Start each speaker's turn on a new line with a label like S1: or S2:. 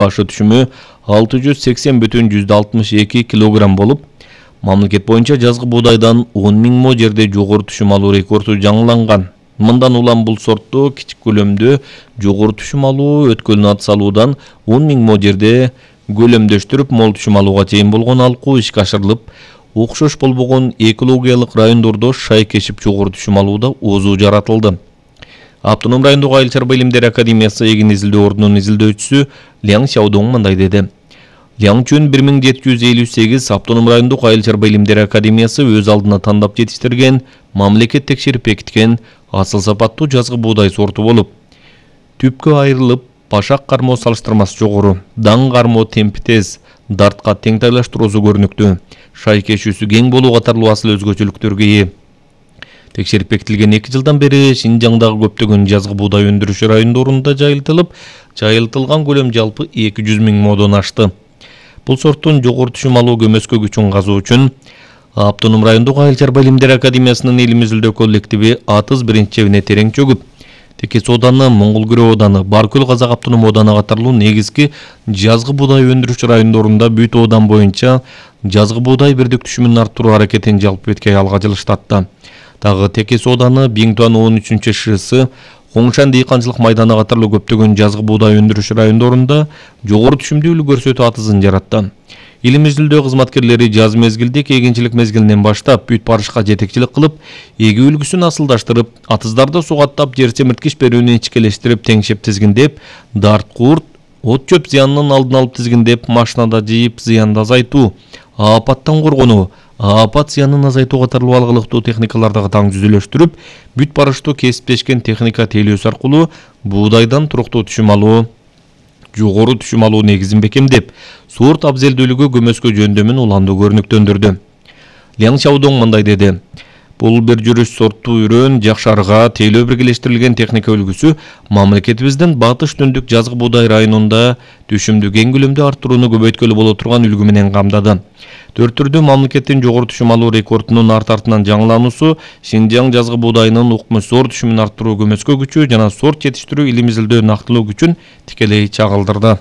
S1: башы түшүмү 680,62 килограмм болуп, мамлекет боюнча жазгы буудайдан 10 000 мо жерде жогору түшүм алуу рекорду жаңыланган. Мындан улам бул сортту кичик көлөмдө жогору түшүм алуу өткөлүнө салуудан 10 000 мо жерде көлөмдөштүрүп мол түшүм алууга чейин болгон алкуу ишке ашырылып, окшош болбогон экологиялык райондордо шай кешип жогору түшүм алууда оозу жаратылды. Автоном райондук айыл чарба илимдери академиясы эгин изилдөө ордунун изилдөөчүсү Ляң Сяодong мындай деди. Ляңчүн 1758 автоном райондук айыл чарба илимдери академиясы өз алдына тандап жетиштирген, мамлекет текшерип бекиткен асыл сапаттуу жазгы буудай сорту болуп, түпкө айрылып, башак кармо салыштырмасы жогору, даң кармо темпи тез, дартка тең тайлаштыруусу көрүнүктүү, шай кешүүсү кең болуу катарлуу асыл өзгөчөлүктөргө ээ. Текшерип бекитилген 2 жылдан бери Шинжаңдагы көптөгөн жазгы буудай өндүрүшү райондорунда жайылтылган көлөм жалпы 200 000 модон ашты. Бул сорттун жогору түшүм алуу көмөскө күчүн казуу үчүн Автоном райондук айыл чарба илимдери академиясынын илим изилдөө коллективи Атыз биринчебине терең чөгүп, Текес ооданы, Моңгол Күрө ооданы, Баркөл Казак автоном ооданы катарлуу негизги жазгы буудай өндүрүшчү райондорунда бүт оодан боюнча жазгы буудай бирдик түшүмүн арттыруу аракетин жалпы бетке аялга жылыштатты. Дагы Текес ооданы, Биңтуан 13-ШС, Коңшан дыйканчылык майданы катарлуу көптөгөн жазгы буудай өндүрүшчү райондорунда жогору түшүмдүүлүк көрсөтүү Атызын жаратты. Илим изилдөө кызматкерлери жаз мезгилдик эгинчилик мезгилинен баштап бүт барышка жетекчилик кылып, эгүү үлгүсүн асылдаштырып, атыздарды сугаттап, жер семирткич берүүнү ичкелештирип, теңшеп тизгиндеп, дарт курт, от чөп зыянынын алдын алып тизгиндеп, машинада жыйып зыянды азайтуу, апаттан коргонуу, апат зыянын азайтуу катарлуу алгылыктуу техникаларды таң жүзүлөштүрүп, бүт барыштуу кесиптешкен техника тейлөөсү аркылуу буудайдан туруктуу түшүм алуу, жогору түшүм алуу негизин бекемдеп, сорт абзелдүүлүгү көмөскө жөндөмүн уланды көрүнүктөндүрдү. Ляң Сяодong мындай деди. Бул бир жүрүш сорттуу үрөн, жакшарга тейлөө биргелештирилген техника үлгүсү мамлекетибиздин батыш түндүк жазгы буудай районунда түшүмдү кең көлөмдө арттырууну көбөйткөлү боло турган үлгү менен камдады. 4 түрдүү мамлекеттин жогору түшүм алуу рекордунун арт-артынан жаңылануусу Шинжаң жазгы буудайынын укмуш зор түшүмүн арттыруу көмөскө күчү жана сорт жетиштирүү илим изилдөө нактылуу күчүн тикелей чагылдырды.